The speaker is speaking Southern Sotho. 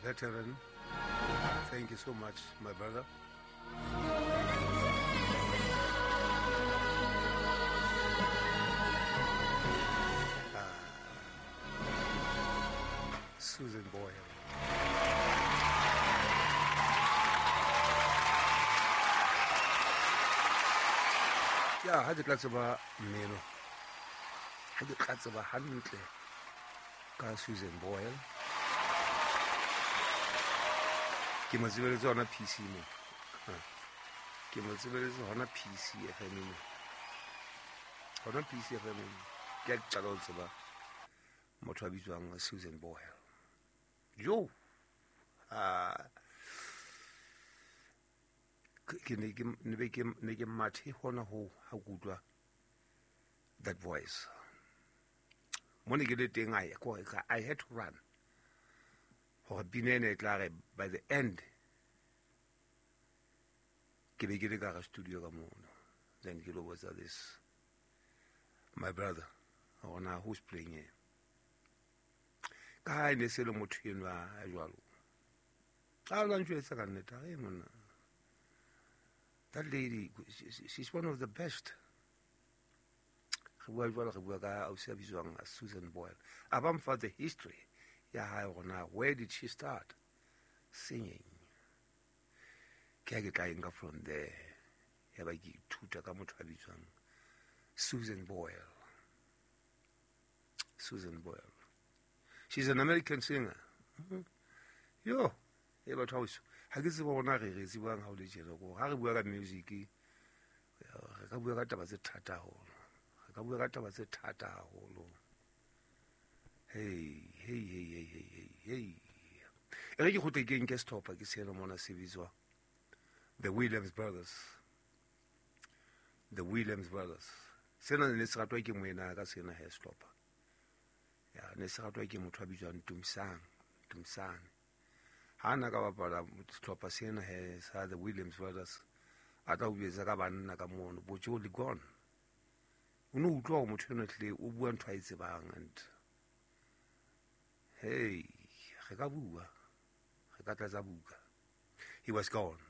Veteran. Thank you so much, my brother. Susan Boyle. Ya ha ke tla tseba mmino, ha ke tla tseba hantle ka Susan Boyle, ke mo tsebeletse hona PC mo, ke mo tsebeletse hona PC FM mo, hona PC FM mo. Ke a qala ho tseba motho a bitswang Susan Boyle. Jo, ke ne ke ne be ke ne ke mathe hona ho ha ke utlwa that voice mo ne ke le teng. I had to run hore pina ena e tla re by the end ke be ke le ka hara studio ka mono. Then ke lo botsa this my brother hore na who's playing here, ka ha e ne se le motho enwa a jwalo a la ntjwetsa ka nnete a re monna, that lady, she's one of the best. Re bua jwalo, re bua ka ausi a bitswang Susan Boyle. A ba mfa the history ya hae hore na where did she start singing. Ke ha ke tla enka from there, ya ba ke ithuta ka motho a bitswang Susan Boyle. Susan Boyle, she's an American singer. Yo, e batho hauso ha ke tsebe hore na re re tsebang ha o le tjena ko ha re bua ka music, re ka bua ka taba tse thata haholo, re ka bua ka taba tse thata haholo. Hey, hey, hey, hey, hey, hey, hey, e re ke kgutle ke nke sehlopha ke sena mona se bitswa The Williams Brothers. The Williams Brothers sena ne se ratwa ke moena ka sena he sehlopha ya ne se ratwa ke motho a bitswang Tumsang Tumsane. Ha na ka bapala sehlopha sena he sa The Williams Brothers, a tla o jwetsa ka banna ka mono botjo le gone, o no utlwa hore motho enwa tlile o bua ntho a e tsebang. And hey, re ka bua, re ka tlatsa buka. He was gone.